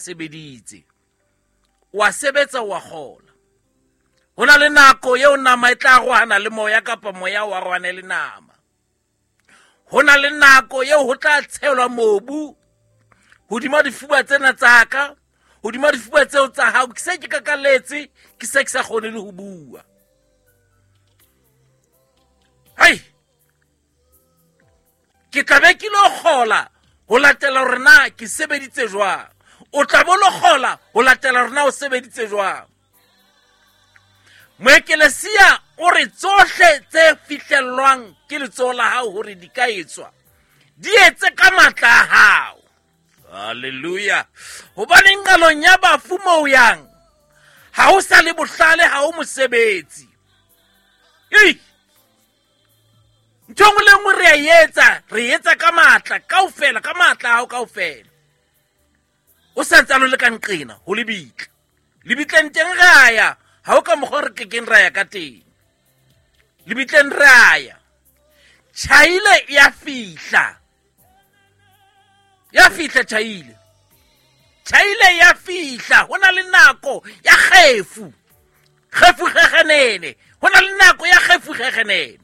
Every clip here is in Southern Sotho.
Sebeditse, wa sebetsa, wa kgola. Ho na le nako eo nama e tla arohana le moya, kapa moya o arohane le nama. Ho na le nako eo ho tla tshelwa mobu hodima difuba tsena tsa ka, hodima difuba tseo tsa hao. Ke se ke kakaletse, ke se ke sa kgone le ho bua. Hei, ke tla be ke lo kgola ho latela hore na ke sebeditse jwang. O tla bo lo kgola ho latela hore na o sebeditse jwang. Moekelesia o re tsohle tse fihlellwang ke letsoho la hao hore di ka etswa, di etse ka matla a hao. Halleluja. Hobane nqalong ya bafu moo yang, ha ho sa le bohlale, ha ho mosebetsi. Ei, ntho engwe le nngwe re a etsa, re etsa ka matla kaofela, ka matla a hao kaofela. O sa ntsane o le ka nqena ho lebitla. Lebitleng teng re a ya, ha ho ka mokgwa re kekeng ra ya ka teng. Lebitleng re a ya. Tjhaile ya fihla. Ya fihla tjhaile. Tjhaile ya fihla. Ho na le nako ya kgefu. Kgefu kgegenene. Ho na le nako ya kgefu kgegenene.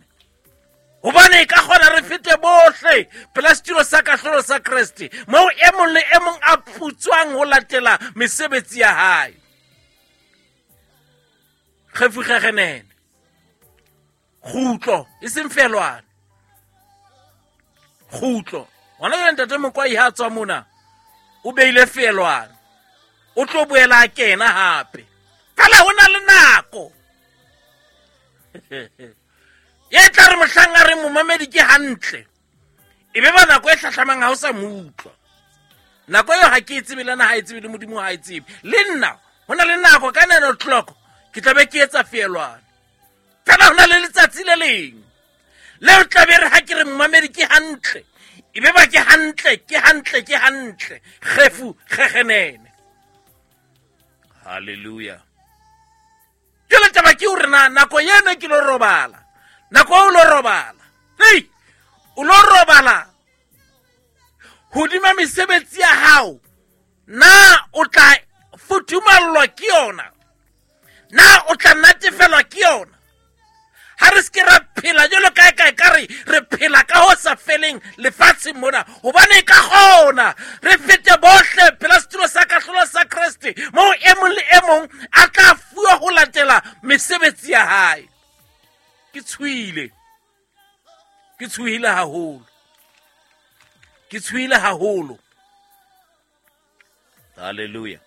Hobane e ka kgona re fete bohle pela setulo sa kahlolo sa Kreste, moo e mong le e mong a putswang ho latela mesebetsi ya hae. Kgefu kgegenene. Kgutlo, e seng felwane. Kgutlo. Hona jwale ntate Mokwai ha a tswa mona, o beile felwane. O tlo boela a kena hape. Fela ho na le nako. E tla re mohlang a reng momamedi ke hantle, e be ba nako e hlahlamang ha o sa mo utlwa. Nako eo ha ke e tsebe, le nna ha e tsebe, le Modimo ha e tsebe. Le nna ho na le nako ka 9 o'clock ke tla be ke etsa feelwane. Fela ho na le letsatsi le leng leo tla be re ha ke re momamedi ke hantle, e be ba ke hantle, ke hantle, ke hantle. Kgefu kgegenene. Hallelujah. Jwale taba ke hore na nako eno ke lo robala, nako o lo robala, hei, o lo robala hodima mesebetsi ya hao, na o tla futhumallwa ke yona? Na o tla natefelwa ke yona? Ha re se ke ra phela jwalo kae kae ka re re phela ka ho sa feleng lefatsheng mona, hobane e ka kgona re fete bohle pela setulo sa kahlolo sa Kreste, moo e mong le e mong a tla fuwa ho latela mesebetsi ya hae. Ke tshohile, ke tshohile haholo, ke tshohile haholo. Hallelujah.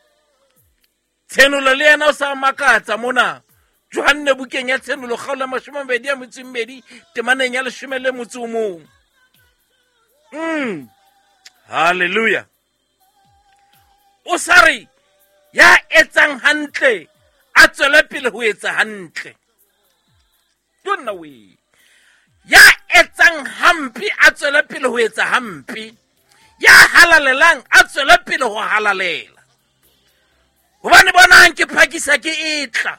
Tshenolo le yena o sa makatsa mona. Johanne bukeng ya Tshenolo kgaolo ya mashome a mabedi a metso e mmedi temaneng ya leshome le motso o mong. Hallelujah. O sa re ya etsang hantle a tswele pele ho etsa hantle. Tonna we. Ya etsang hampe a tswele pele ho etsa hampe. Ya halalelang a tswele pele ho halalela. Hobane bonang ke phakisa ke etla,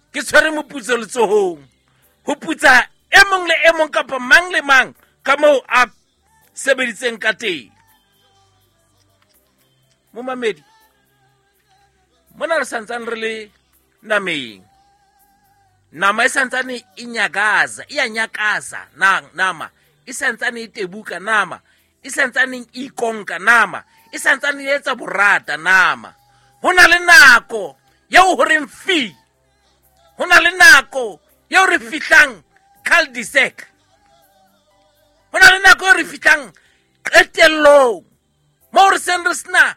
ke tshwere moputso letsohong, ho putsa e mong le e mong kapa mang le mang ka moo a sebeditseng ka teng. Momamedi, mona re santsane re le nameng. Nama e santsane e nyakaza, e a nyakaza, nama e santsane e tebuka, nama e santsane e ikonka, nama e santsane e etsa borata, nama. Ho na le nako eo ho reng fi, ho na le nako eo re fihlang cul-de-sac, ho na le nako eo re fihlang qetellong moo re seng re sena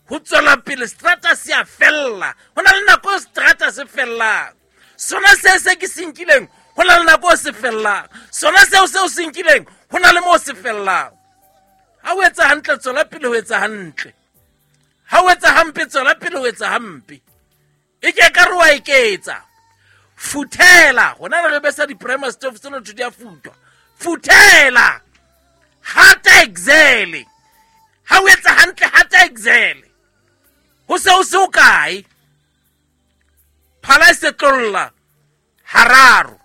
ho tswela pele, strata se a fella. Ho na le nako eo strata se fellang. Sona se se ke se nkileng, ho na le nako eo se fellang. Sona seo seo se nkileng, ho na le moo se fellang. Ha o etsa hantle, tswela pele ho etsa hantle. Ha o etsa hampe, tswela pele ho etsa hampe. E ke ka re wa eketsa. Futhela. Hona re besa di-primer stove tsena ntho di a futwa. Futhela. Hata Excel. Ha o etsa hantle, hata Excel. Ho se ho se ho kae. Phala e se tlolla hararo.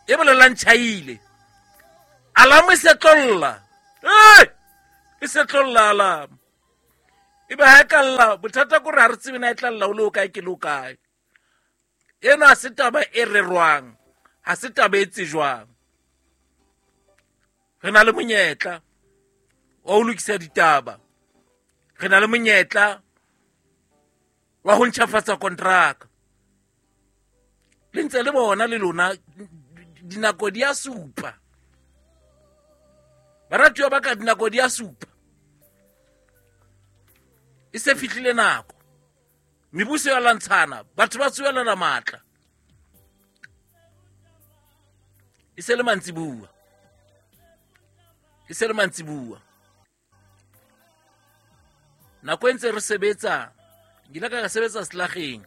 E bolelang tjhaile. Alarm e se tlolla. Hey! E se tlolla alarm. Ebe ha e ka lla, bothata ke hore ha re tsebe na e tla lla o le o kae ke le o kae. Ena ha se taba e rerwang, ha se taba e tsejwang. Re na le monyetla wa ho lokisa ditaba. Re na le monyetla wa ho ntjhafatsa kontraka. Le ntse le bona le lona dinako di a supa. Baratuwa ba ka, dinako di a supa. E se fihlile nako. Mebuso ya lwantshana, batho ba tsohelana matla. E se le mantsibuwa. E se le mantsibuwa. Nako e ntse re sebetsa, ke ile ka sebetsa selageng.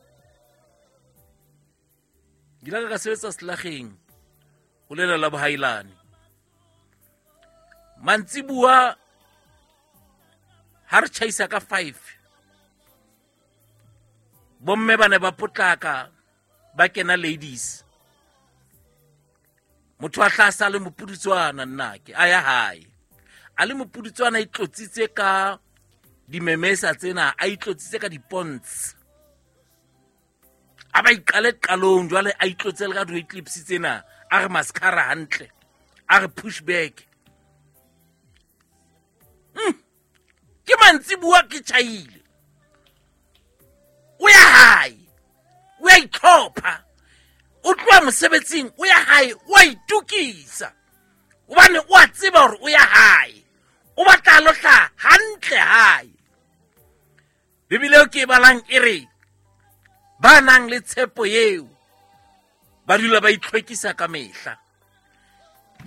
Ke ile ka sebetsa selageng ho lela la bohailane. Mantsibuwa ha re tjhaisa ka 5. Bomme ba ne ba potlaka ba kena ladies. Motho a hlasa le mopudutswana nnake a ya hae. A le mopudutswana a itlotsitse ka dimemesa tsena, a itlotsitse ka diponts. A ba iqale qalong jwale a itlotse le ka di-eclipse tsena, a re mascara hantle, a re push back. Ke mantsibuwa ke tjhaile. O ya hae, o ya itlhopha, o tloha mosebetsing, o ya hae, o a itokisa. Hobane o a tseba hore o ya hae, o batla lo hlaha hantle hae. Bibele eo ke e balang e re ba nang le tshepo eo ba dula ba itlhwekisa ka mehla.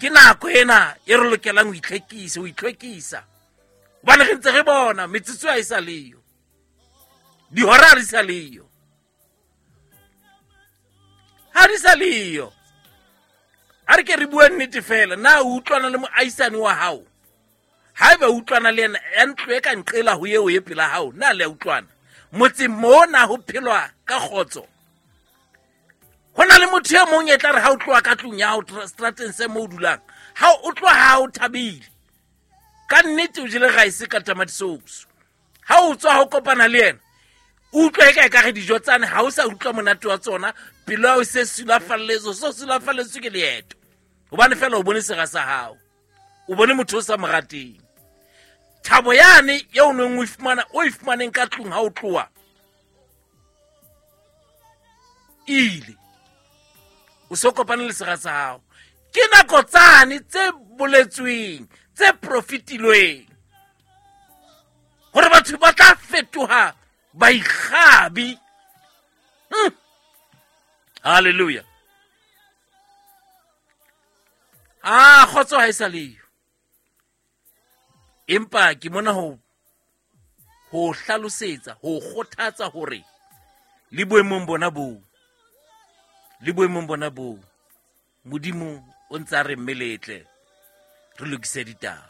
Ke nako ena e re lokelang ho itlhwekisa, ho itlhwekisa. Hobane re ntse re bona metsotso ha e sa leyo, dihora ha di sa leyo, ha di sa leyo. A re ke re bue nnete fela, na o utlwana le moahisani wa hao? Haeba o utlwana le yena, ya ntlo e ka nqela ho eo e pela hao, na le a utlwana? Motseng mona ho phelwa ka kgotso. Ho na le motho e mong e tla re ha o tloha ka tlung ya hao, strateng se moo o dulang, ha o tloha ha o thabile. Ka nnete o jele rice ka tamati sauce. Ha o tswa ho kopana le yena, o utlwa eka ekare dijo tsane ha o sa utlwa monate wa tsona, pelo ya hao e se sulafalletswe, so sulafalletswe ke leeto. Hobane fela o bone sera sa hao, o bone motho o sa mo rateng. Thabo yane eo o neng o e fumana, o e fumaneng ka tlung ha o tloha, ile. O so kopane le sera sa hao. Ke nako tsane tse boletsweng, tse profitilweng, hore batho ba tla fetoha baikgabi. Hallelujah. Kgotso ha e sa leyo. Empa ke mona ho hlalosetsa, ho kgothatsa hore le boemong bona boo, le boemong bona boo, Modimo o ntse a re mmeletle re lokise ditaba.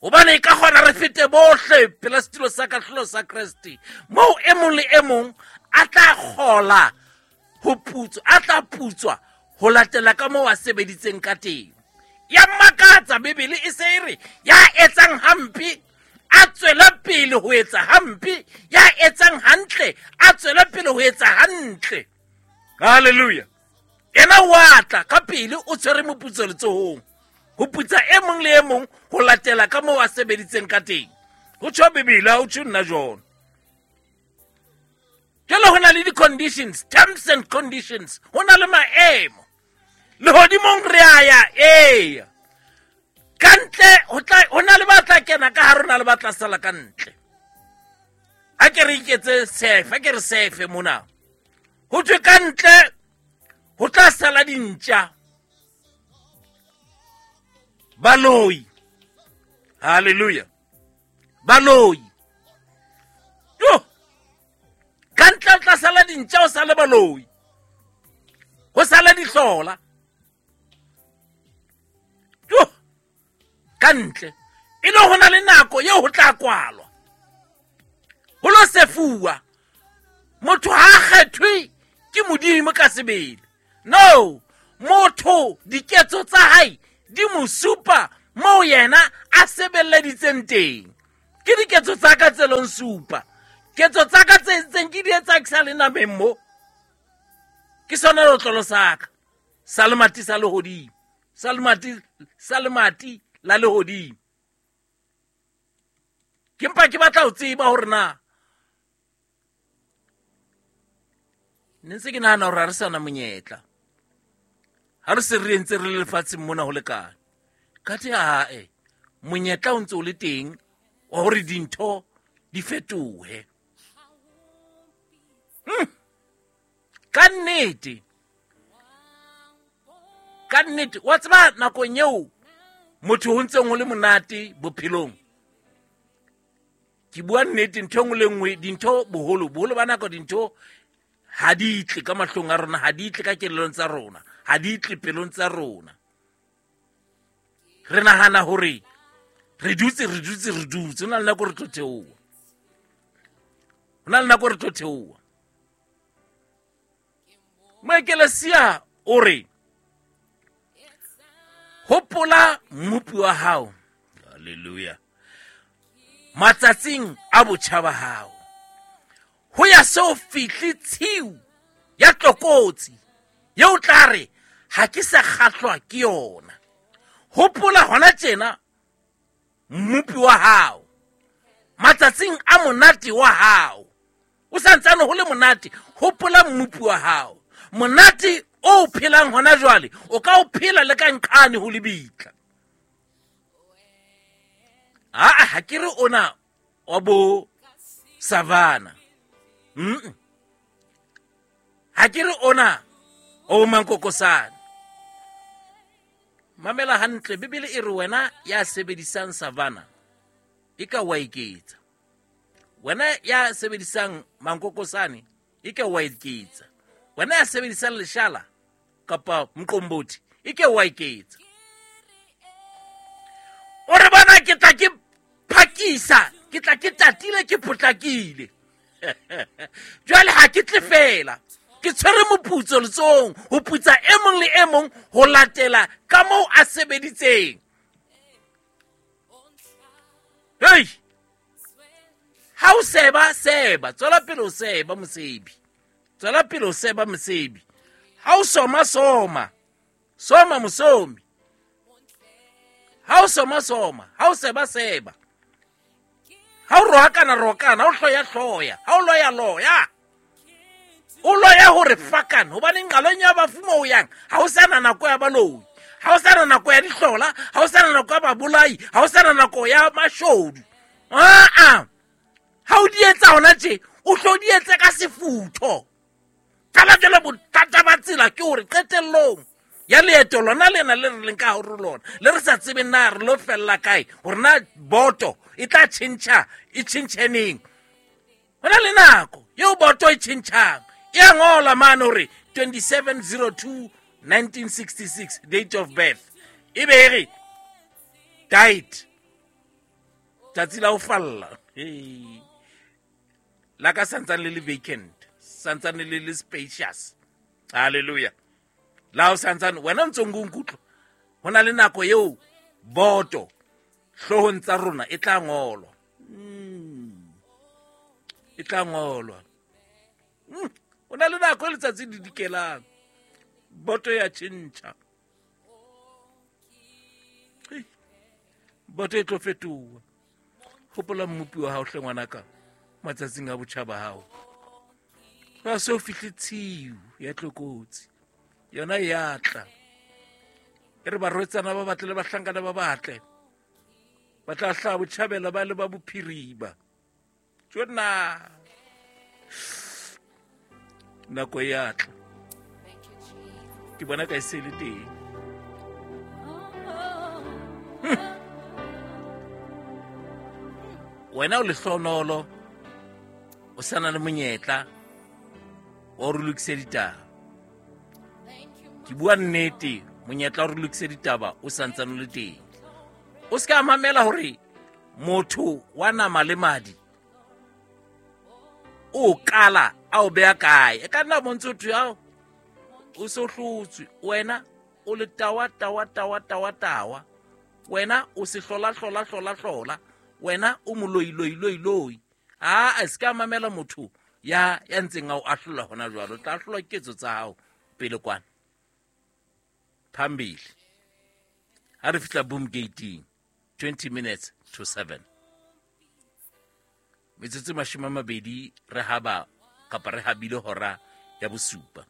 Hobane e ka kgona re fete bohle pela setulo sa kahlolo sa Kreste, moo e mong le e mong a tla kgola ho putswa, a tla putswa ho latela ka moo a sebeditseng ka teng. Ya makatsa Bibele e se e re ya etsang hampe a tswele pele ho etsa hampe, ya etsang hantle a tswele pele ho etsa hantle. Hallelujah. Yena wa tla ka pele o tshwere moputso letsohong, ho putsa e mong le e mong ho latela ka moo a sebeditseng ka teng. Ho tjho Bibele, ha ho tjho nna jona. Jwale ho na le di-conditions, terms and conditions, ho na le maemo. Lehodimong re a ya, eya. Ka ntle, ho na le ba tla kena ka hare, ho na le ba tla sala ka ntle. A ke re iketse sefe, a ke re sefe mona. Ho thwe ka ntle ho tla sala dintja, baloi. Hallelujah. Baloi. Jo. Ka ntle ho tla sala dintja, ho sale baloi, ho sale dihlola. Jo. Ka ntle e le ho na le nako eo ho tla kwalwa, ho lo sefuwa. Motho ha a kgethwe ke Modimo ka sebele. No, motho diketso tsa hae di mo supa moo yena a sebeleditseng teng. Ke diketso tsa ka tse long supa. Ketso tsa ka tse entseng ke di etsa ke sa le nameng mo. Ke sona leotlolo sa ka. Sa lemati sa lehodimo. Sa lemati, sa lemati la lehodimo. Ke mpa ke batla ho tseba hore na ne ntse ke nahana hore ha re sa na monyetla. Ha re se re entse re le lefatsheng mona ho lekane. Kathe ae, monyetla o ntse o le teng wa hore dintho di fetohe. Ka nnete. Ka nnete, wa tseba nakong eo motho ho ntseng ho le monate bophelong. Ke bua nnete, ntho e nngwe le nngwe, dintho boholo, boholo ba nako dintho ha di tle ka mahlong a rona, ha di tle ka kelellong tsa rona, ha di tle pelong tsa rona. Re nahana hore re dutse, re dutse, re dutse. Ho na le nako re tlo theoha. Ho na le nako re tlo theoha. Moekelesia o re, hopola mmopi wa hao. Hallelujah. Matsatsing a botjha ba hao. Ho ya so fihle tshiu ya tlokotsi yeo tla re ha ke sa kgahlwa ke yona. Hopola hona tjena mmopi wa hao. Matsatsing a monate wa hao. O sa ntsane ho le monate, hopola mmopi wa hao. Monate o phelang hona jwale, o ka o phela le ka nqane ho lebitla. Aa, ha ke re ona wa bo savana. Ha ke re ona o bo mankokosane. Mamela hantle, Bibele e re wena ya sebedisang savana e ka wa eketsa. Wena ya sebedisang mankokosane e ke wa eketsa. Wena ya sebedisang leshala kapa mqombothi e ke wa eketsa. O re bona ke tla ke phakisa, ke tla ke tatile, ke potlakile. Jwale ha ke tle fela, ke tshwere moputso letsohong ho putsa e mong le e mong ho latela ka moo a sebeditseng. Hei! Ha o seba, seba. Tswela pele o seba, mosebi. Tswela pele o seba, mosebi. Ha o soma, soma. Soma, mosomi. Ha o soma, soma. Ha o seba, seba. Ha o rohakana, rohakana. Ha o hloya, hloya. Ha o loya, loya. O loya hore fakana. Hobane nqalong ya bafu moo o yang, ha o sana nako ya baloi. Ha o sana nako ya dihlola. Ha o sana nako ya babolai. Ha o sana nako ya mashodu. Aa, ha o di etsa hona tje, o tlo di etsa ka sefutho. Fela jwale bothata ba tsela ke hore qetellong ya leeto lona lena le re leng ka hare ho lona, le re sa tsebeng na re lo fella kae, hore na boto e tla tjhentjha, e tjhentjhe neng. Ho na le nako eo boto e tjhentjhang. E a ngola mane hore 27/02/1966, date of birth. E be e re died. Tsatsi la ho falla. Hey. La ka santsane le le vacant, santsane le le spacious. Hallelujah. La o santsane wena o ntse o nkutlwa. Ho na le nako eo boto hloohong tsa rona e tla ngolwa. E tla ngolwa. Ho na le nako e letsatsi le dikelang. Boto ya tjhentjha. Boto e tlo fetoha. Hopola mmopi wa hao hle ngwanaka matsatsing a botjha ba hao. Ha se o fihle tshiu ya tlokotsi. Yona e a tla. E re barwetsana ba batle le bahlankana ba batle. Ba tla hlaha botjhabela ba le ba bophirima. Tjona. Nako e a tla. Ke bona ka e se le teng. Wena o lehlonolo, o sa na le monyetla wa hore o lokise ditaba. Ke bua nnete, monyetla wa hore o lokise ditaba o sa ntsane o le teng. O se ka mamela hore motho wa nama le madi o kala a o beha kae. E ka nna bontsho thwe ao o se o hlotswe, wena o le tawa, tawa, tawa, tawa, tawa. Wena o se hlola, hlola, hlola, hlola. Wena o moloi loi loi loi. A se ka mamela motho ya ntseng a o ahlola hona jwalo. O tla ahlolwa ke ketso tsa hao pele kwana. Phambili. Ha re fihla boom gating 6:40. Metsotso 20 re haba kapa re habile hora ya 7.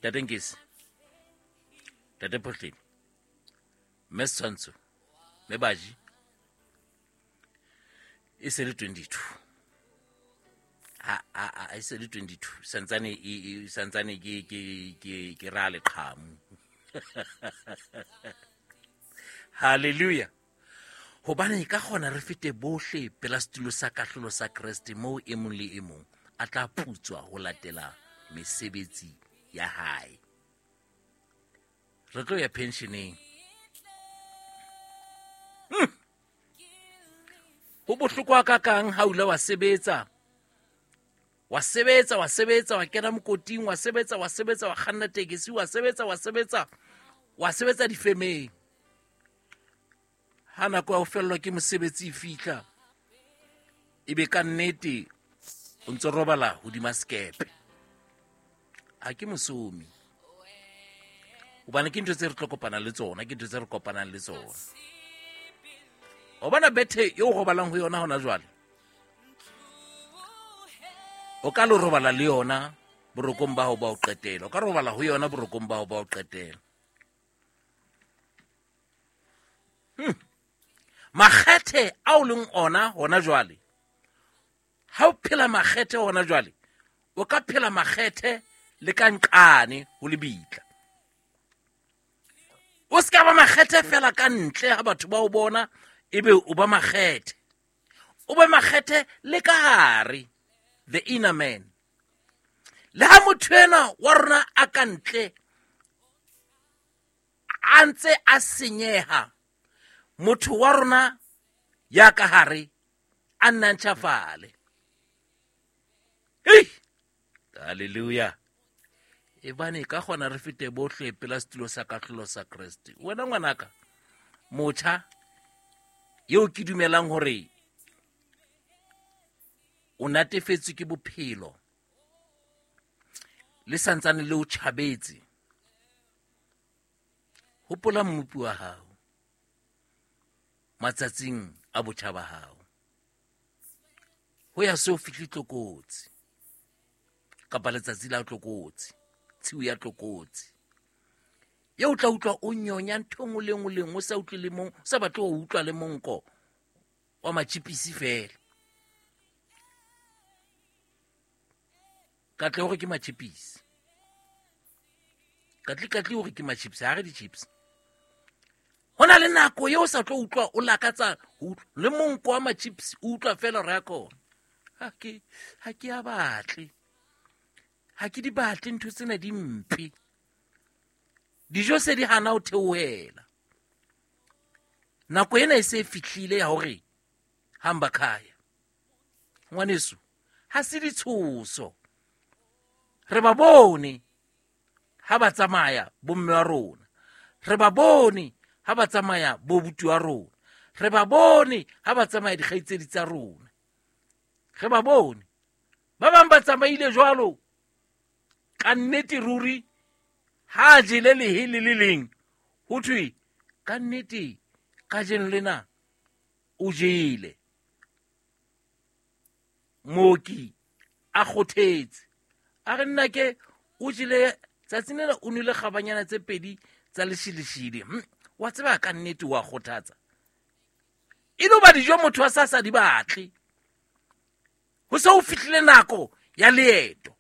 Tate Nkesi, Tate Phohleni, Mme Setshwantsho, Mme Baji, e se le 22. Ha e se le 22 santsane e santsane ke ra leqhamu. Hallelujah. Hobane ka kgona re fete bohle pela setulo sa kahlolo sa Kreste, moo e mong le e mong a tla putswa ho latela mesebetsi ya hae. Re tlo ya pensioneng. Ho bohlokwa ka kang ha o ile wa sebetsa, wa sebetsa, wa sebetsa, wa kena mokoting, wa sebetsa, wa sebetsa, wa kganna tekesi, wa sebetsa, wa sebetsa, wa sebetsa difemeng. Ha nako ya ho fellwa ke mosebetsi e fihla, ebe ka nnete o ntso robala hodima sekepe. Ha ke mosomi, hobane ke ntho tse re tlo kopana le tsona, ke ntho tse re kopanang le tsona. O bona bethe eo o robalang ho yona hona jwale, o ka lo robala le yona borokong ba hao ba ho qetela, o ka robala ho yona borokong ba hao ba ho qetela. Makgethe ao leng ona hona jwale, ha o phela makgethe hona jwale, o ka phela makgethe le ka nqane ho lebitla. O se ka ba makgethe fela ka ntle ha batho ba o bona, ebe o ba makgethe. O be makgethe le ka hare, the inner man. Le ha motho ena wa rona a ka ntle a ntse a senyeha, motho wa rona ya ka hare a nna ntjhafale. Hei! Hallelujah. Ebane ka kgona re fete bohle pela setulo sa kahlolo sa Kreste. Wena ngwanaka, motjha eo ke dumelang hore o natefetswe ke bophelo, le santsane le o tjhabetse, hopola mmopi wa hao matsatsing a botjha ba hao. Ho ya se o fihle tlokotsi kapa letsatsi la tlokotsi, tshiu ya tlokotsi, eo o tla utlwa o nyonya ntho e nngwe le nngwe le nngwe, o sa utlwe le mong, o sa batle ho utlwa le monko wa matjhipisi fela. Katle hore ke matjhipisi, katle hore ke matjhipisi, ha re di-chips. Ho na le nako eo o sa tlo utlwa o lakatsa ho utlwa le monko wa matjhipisi, o utlwa fela hore ya kona. Ha ke a batle, ha ke di batle ntho tsena di mpe. Dijo se di hana ho theohela. Nako ena e se e fihlile ya hore hamba khaya. Ngwaneso, ha se ditshoso. Re ba bone ha ba tsamaya bomme wa rona. Re ba bone ha ba tsamaya bo buti wa rona. Re ba bone ha ba tsamaya dikgaitsedi tsa rona. Re ba bone. Ba bang ba tsamaile jwalo. Ka nnete ruri ha jele lehe le le leng, ho thwe ka nnete kajeno lena o jele. Mooki a kgothetse, a re nna ke o jele tsatsing lena, o nwele kgabanyana tse pedi tsa leshileshile. Wa tseba ka nnete wa kgothatsa. E no ba dijo motho a sa di batle. Ho se ho fihlile nako ya leeto.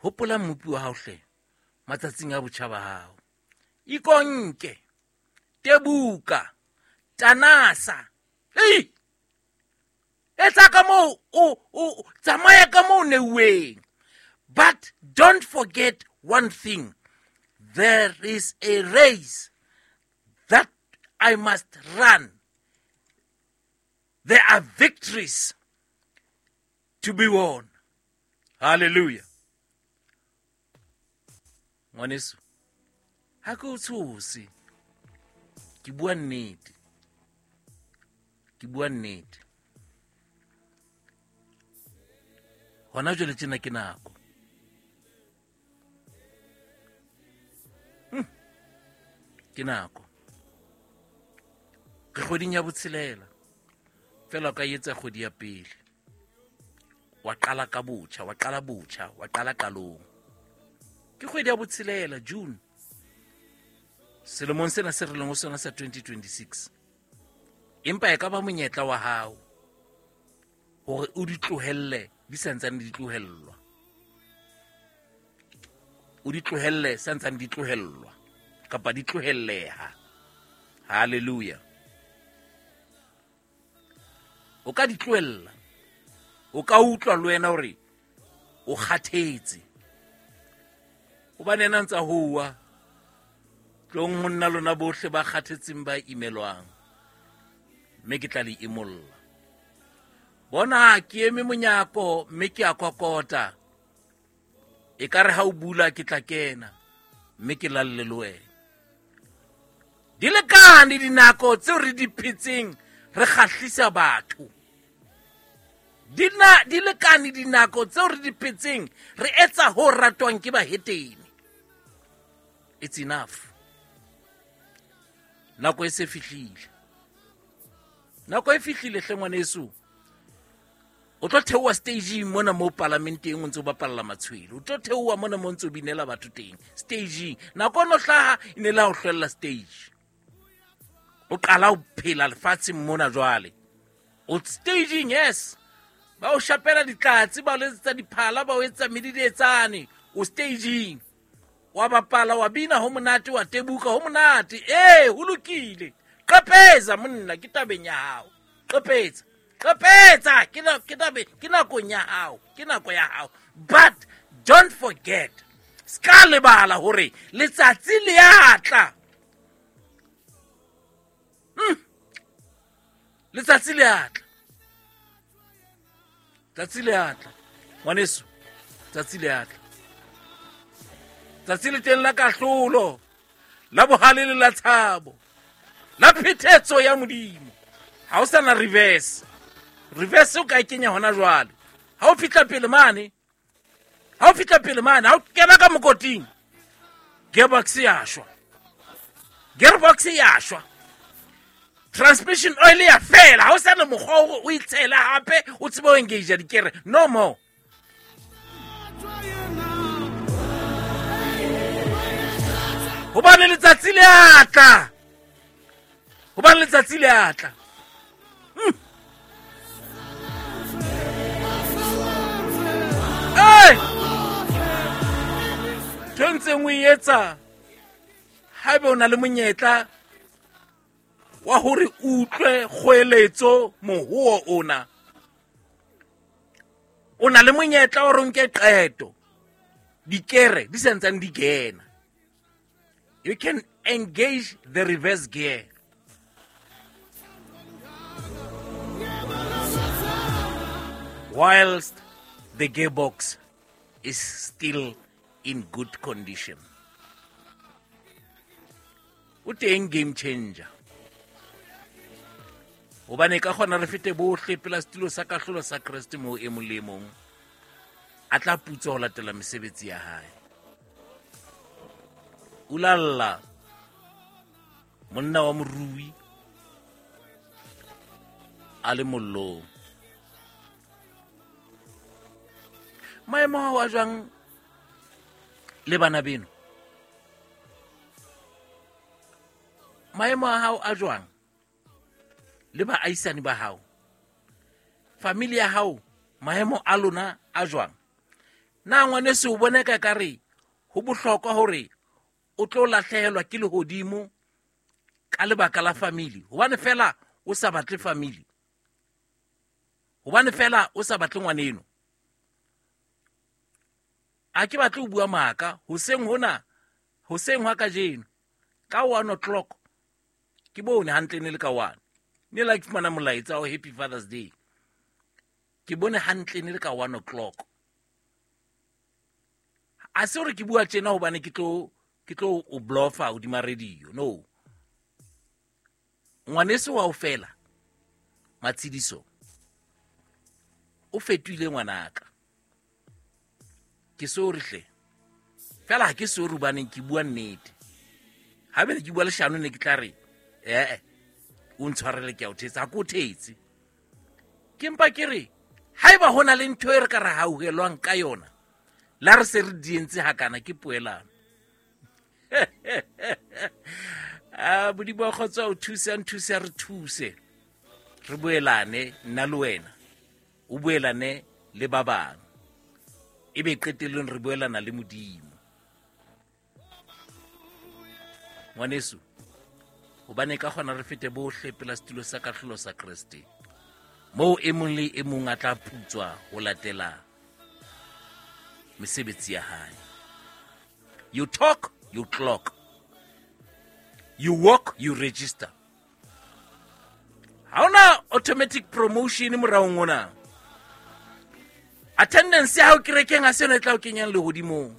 Hopola mmopi wa hao hle matsatsing a botjha ba hao. Ikonke, tebuka, tanasa. Ei! Etsa ka moo o tsamaya ka moo neuweng. But don't forget one thing. There is a race that I must run. There are victories to be won. Hallelujah. Ngwaneso, ha ke o tshose, ke bua nnete. Ke bua nnete. Hona jwale tjena ke nako. Ke nako. Re kgweding ya botshelela. Fela o ka etsa kgwedi ya pele. Wa qala ka botjha, wa qala botjha, wa qala qalong. Ke kgwedi ya botshelela, June. Selemong sena se re leng ho sona sa 2026. Empa e ka ba monyetla wa hao hore o di tlohelle di santsane di tlohellwa. O di tlohelle santsane di tlohellwa kapa di tlohelleha. Hallelujah. O ka di tlohella. O ka utlwa le wena hore o kgathetse. Hobane yena ntsa howa tlong ho nna lona bohle ba kgathetseng ba imelwang, mme ke tla le imolla. Bona, ke eme monyako mme ke a kokota. E ka re ha o bula ke tla kena mme ke lalle le wena. Di lekane dinako tseo re di phetseng re kgahlisa batho. Di lekane dinako tseo re di phetseng re etsa ho ratwang ke bahetene. It's enough. Nako e se fihlile. Nako e fihlile hle ngwaneso. O tlo theoha stageng mona mo palamenteng o ntse o bapalla matshwele. O tlo theoha mona mo ntse o binela batho teng stageng. Nako ono hlaha e ne le ha o hlwella stage. O qala ho phela lefatsheng mona jwale. O stageng, yes. Ba o shapela ditlatse, ba o letsetsa diphala, ba o etsa medidetsane. O stageng. Wa bapala, wa bina ho monate, wa tebuka ho monate. Ee, ho lokile. Qepetsa monna, ke tabeng ya hao. Qepetsa. Qepetsa, ke nakong ya hao, ke nako ya hao. But don't forget, ska lebala hore letsatsi le a tla. Letsatsi le a tla. Tsatsi le a tla. Ngwaneso, tsatsi le a tla. Tsatsi le teng la kahlolo, la bohale le la tshabo, la phethetso ya Modimo. Ha o sana reverse. Reverse o ka e kenya hona jwale. Ha o fihla pele mane, ha o fihla pele mane, ha o kena ka mokoting, gearbox ya shwa. Gearbox ya shwa. Transmission oil ya fela. Ha o sana mokgwa o o itshela hape, o tsebe ho engage dikere. No more. Hobane letsatsi le a tla. Hobane letsatsi le a tla. Hey! Ntho e ntseng o e etsa, haeba o na le monyetla wa hore o utlwe kgoeletso mohoo ona, o na le monyetla wa hore o nke qeto, dikere di sa ntsane di kena. You can engage the reverse gear. Whilst the gearbox is still in good condition. O teng game changer. Hobane ka kgona re fete bohle pela setulo sa kahlolo sa Kreste moo e mong le e mong a tla putswa ho latela mesebetsi ya hae. Ulalla monna wa morui a le mollong. Maemo ao a jwang le bana beno? Maemo a hao a jwang le baahisani ba hao? Family ya hao, maemo a lona a jwang? Na ngwaneso o bona ka kare ho bohlokwa hore o tlo lahlehelwa ke lehodimo ka lebaka la family? Hobane fela o sa batle family, hobane fela o sa batle ngwaneno. A ke batle ho bua maka hoseng hona, hoseng hwa kajeno ka 1 o'clock ke bone hantle ne le ka 1. Ne la ke fumana molaetsa wa Happy Father's Day. Ke bone hantle ne le ka 1 o'clock. A se hore ke bua tjena hobane ke tlo o bluffa hodima radio. No. Ngwaneso wa o fela. Matshidiso o fetohile ngwanaka. Ke sorry hle. Fela ha ke sorry hobaneng ke bua nnete. Ha bene ke bua leshano ne ke tla re o ntshwarele ke a o thetsa, ha ke o thetse. Ke mpa ke re haeba ho na le ntho e re ka re hauhelwang ka yona, la re se re dientse hakana ke poelano. A Modimo wa kgotso o thuse, a nthuse, a re thuse. Re boelane nna le wena, o boelane le ba bang, ebe qetellong re boelana le Modimo. Ngwaneso, hobane ka kgona re fete bohle pela setulo sa kahlolo sa Kreste, moo e mong le e mong a tla putswa ho latela mesebetsi ya hae. You talk, you clock. You walk, you register. Ha hona automatic promotion moraong ona. Attendance ya hao kerekeng ha se yona e tla o kenyang lehodimong.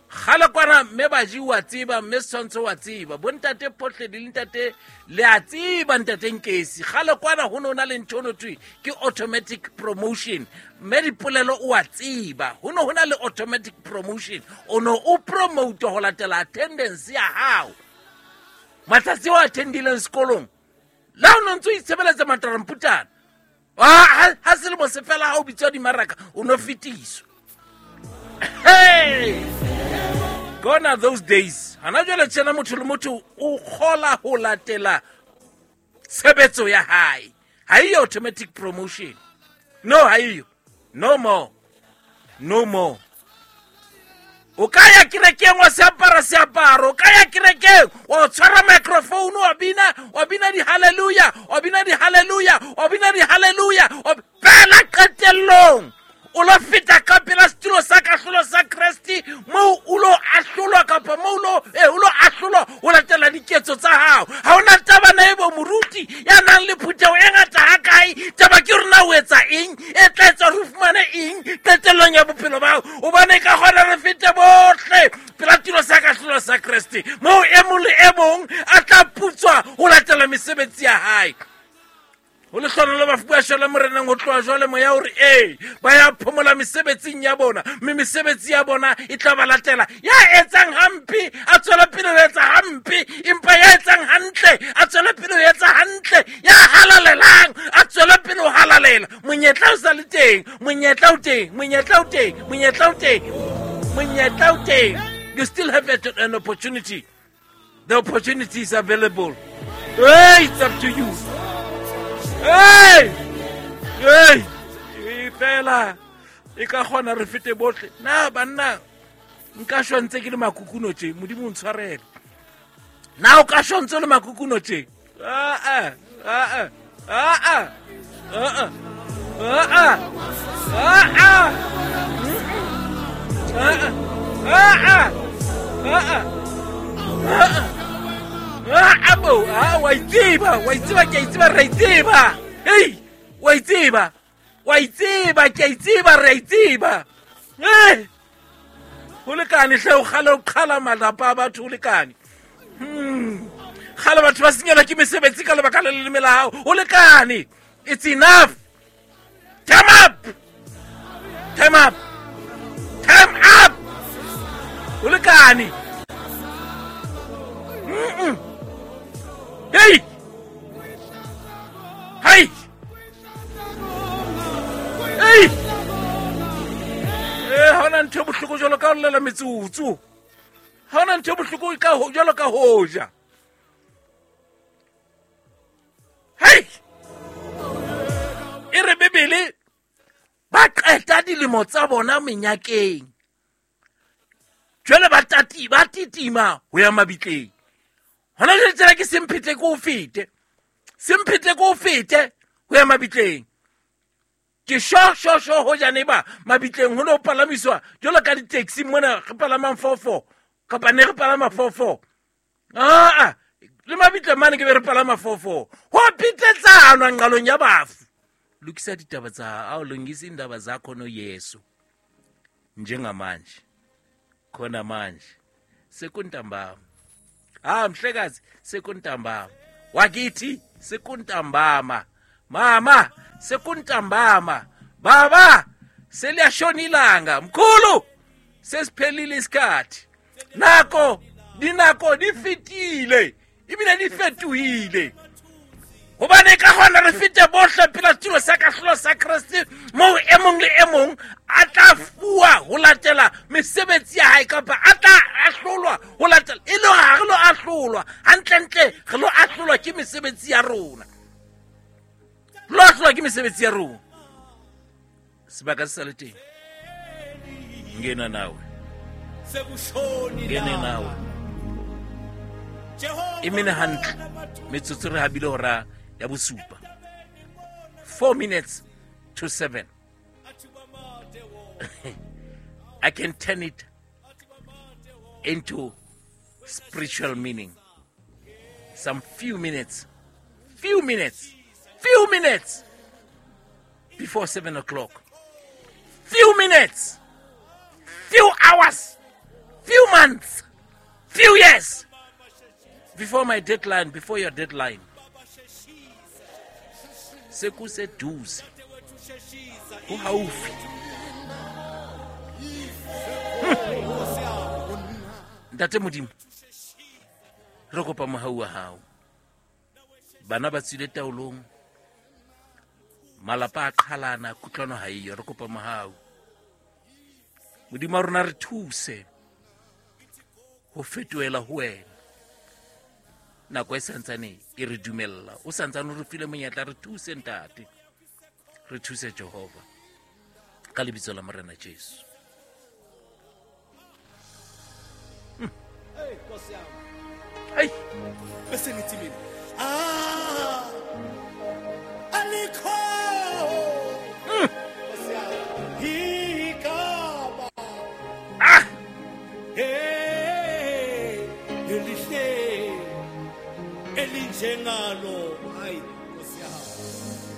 Kgale kwana mme baji wa tseba, mme Setshwantsho wa tseba, bontate Photledi le ntate le a tseba, ntate Nkesi. Kgale kwana ho ne ho na le ntho no thwe ke automatic promotion. Mme Dipolelo o a tseba, ho ne ho na le automatic promotion. O ne o promote ho latela attendance ya hao. Matsatsi o attendileng sekolong, la o no ntso itshebeletsa mataramputana. Ha selemo se fela ha o bitswa dimaraka, o no fetiswa. Hey! Gone are those days. Hana jwale tjena motho le motho o kgola ho latela tshebetso ya hae. Ha eyo automatic promotion. No, ha eyo. No more. No more. O ka ya kerekeng wa se apara seaparo, o ka ya kerekeng wa tshwara microphone wa bina, wa bina di-hallelujah, wa bina di-hallelujah, wa bina di-hallelujah, fela qetellong o lo feta ka pela setulo sa kahlolo sa Kreste, moo o lo ahlolwa kapa moo o lo ahlolwa ho latela diketso tsa hao. Ha hona taba na ebo moruti ya nang le phutheho e ngata hakae, taba ke hore na o etsa eng e tla etsa hore o fumane eng qetellong ya bophelo ba hao. Hobane ka kgona re fete bohle pela tulo sa kahlolo sa Kreste, moo e mong le e mong a tla putswa ho latela mesebetsi ya hae. Ho lehlohonolo bafu ba shwela Moreneng ho tloha jwale, moya o re ee, ba ya phomola mesebetsing ya bona, mme mesebetsi ya bona e tla ba latela. Ya etsang hampe a tswele pele ho etsa hampe, empa ya etsang hantle a tswele pele ho etsa hantle, ya halalelang a tswele pele ho halalela. Monyetla o sa le teng, monyetla o teng, monyetla o teng, monyetla o teng, monyetla o teng. You still have an opportunity. The opportunity is available. Hey, it's up to you. Hey! Hey! E fela e ka kgona re fete bohle. Na banna nka shwa ntse ke le makukuno tje, Modimo o ntshwarele. Na o ka shwa ntse o le makukuno tje? Ah ah ah ah ah ah ah ah ah ah ah ah bo ah wa itseba, wa itseba, ke a itseba, re a itseba. Hey, wa itseba, wa itseba, ke a itseba, re a itseba. Hey, ho lekane hle, o kgale o qhala malapa a batho, ho lekane. Kgale batho ba senyelwa ke mesebetsi ka lebaka la leleme la hao, ho lekane. It's enough. Time up. Time up. Time up. Ho lekane. Hey. Hey. Hey. Ha hona ntho e bohloko jwalo ka ho llela metsotso. Ha hona ntho e bohloko ka ho jwalo ka ho ja. Hey. E re Bibele ba qeta dilemo tsa bona menyakeng. Jwale ba tati ba titima ho ya mabitleng. Hona jwale tsela ke semphete ke o fete. Semphete ke o fete ho ya mabitleng. Ke sho sho sho ho jane ba mabitleng ho no palamiswa jwalo ka di-taxi mona re palamang 4-4 kapa ne re palama 4-4. Ah, le mabitleng mane ke be re palama 4-4. Ho pitletsanwa nqalong ya bafu. Lokisa ditaba tsa hao, lungisa indaba zakho no Yesu. Njengamanje. Khona manje. Sekuntambama. Ah, mhlekazi, sekuntambama. Wakithi sekuntambama. Mama, sekuntambama. Baba, seliyashona ilanga. Mkhulu, sesiphelile isikhathi. Nako, dinako di fetile. Ebile di fetohile. Hobane ka hona re fete bohle pela setulo sa kahlolo sa Kreste, moo e mong le e mong a tla fuwa ho latela mesebetsi ya hae, kapa a tla ahlolwa ho latela. E le hore ha re lo ahlolwa hantlentle, re lo ahlolwa ke mesebetsi ya rona. Re lo ahlolwa ke mesebetsi ya rona. Sebaka se sa le teng. Ngena nawe. Ngene nawe. E mene hantle. Metsotso re habile hora ya bosupa. 6:54. I can turn it into spiritual meaning. Some few minutes, few minutes, few minutes before 7 o'clock. Few minutes, few hours, few months, few years before my deadline, before your deadline. Sekuseduze. Ho haufi. Ntate Modimo, re kopa mohau wa hao. Bana ba tswile taolong, malapa a qhalana, kutlwano ha eyo. Re kopa mohau. Modimo wa rona, re thuse ho fetohela ho wena. Nako e santsane e re dumella, o santsane o re file monyetla, re thuse ntate, re thuse Jehova, ka lebitso la Morena Jesu. Hey. Bese ngithi mina, ah, alikho. Nkosi yami, igama. Ah. Hey, elihle elinjengalo. Hayi, Nkosi yami.